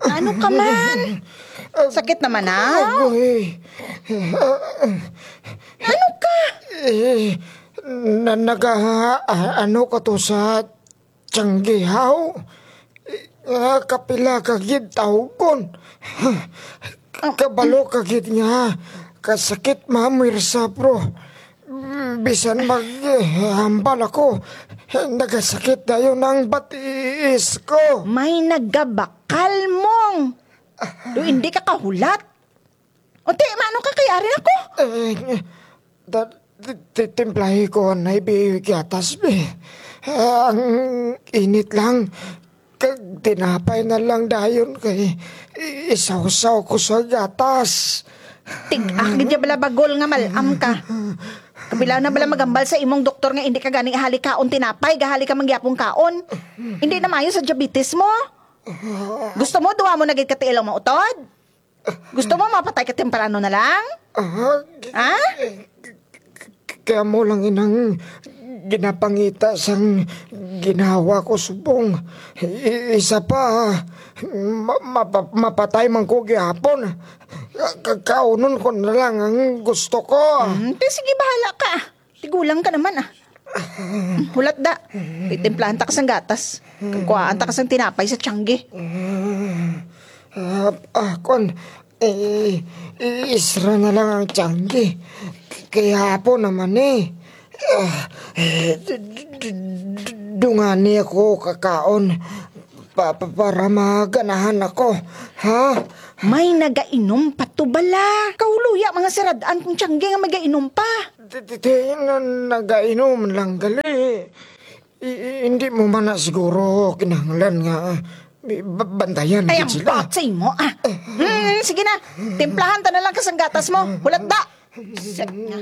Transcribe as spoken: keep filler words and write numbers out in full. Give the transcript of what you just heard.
Ano ka man? Sakit naman, ah? Agoy. Ano ka? Eh, na, naga, a-, ano ka to sa tiyanggi haw? Ah, kapila ka gid tawgon. Kabalo ka gid nga kasakit mamwersa, bro. Bisan mag, eh, hambal ako, nagasakit dayon ang batiis ko. May nagabakal, Mong. Do indi ka kahulat. O, ti, maano ka kay ari ako? Eh, ta-, ti-, ti-, timplahi ko anay bi gatas, bi. Ang init lang. Kag tinapay na lang dayon kay i-, isawsaw ko sa gatas. Tig-a ka gid dya bala, Bagol, nga mal-am ka. Kabilaw na bala maghambal sa imong doktor nga indi ka gani halikaon tinapay, gahali ka man gihapon kaon. Indi na maayo sa diabetes mo. Gusto mo, duha mo na gid ka tiil ang mautod? Gusto mo mapatay ka temprano na lang? Ah, Ha? Kaya mo lang inang ginapangita sang ginhawa ko subong. I-, isa pa, ma-, mapa-, mapatay man ko gihapon. Ka-, kaunon ko na lang ang gusto ko. Hmm, te, sige, bahala ka. Tigulang ka naman, ah. Hulat da. Titimplahan ta ka sang gatas. Kag kuhaan ta ka sang tinapay sa tiyanggi. Ah, ah, kon, eh, isra na lang ang tiyanggi. Kay hapon naman, eh. Ah, eh, d-, d-, d-, d-, dungani ako kakaon. Pa, pa, para maganahan ako. Ha? May nagainom pa to bala. Kaw luya, mga sirad-an kong tiyanggi nga magainom pa. Ti, ti, ti, na, nagainom lang gali. I, i, hindi mo man na siguro kinahanglan nga, eh, ba-, bantayan Ay, gid ang sila. Botse mo, ah. Hmm, sige na. Timplahan ta na lang ka sang gatas mo. Hulat da. Set nga.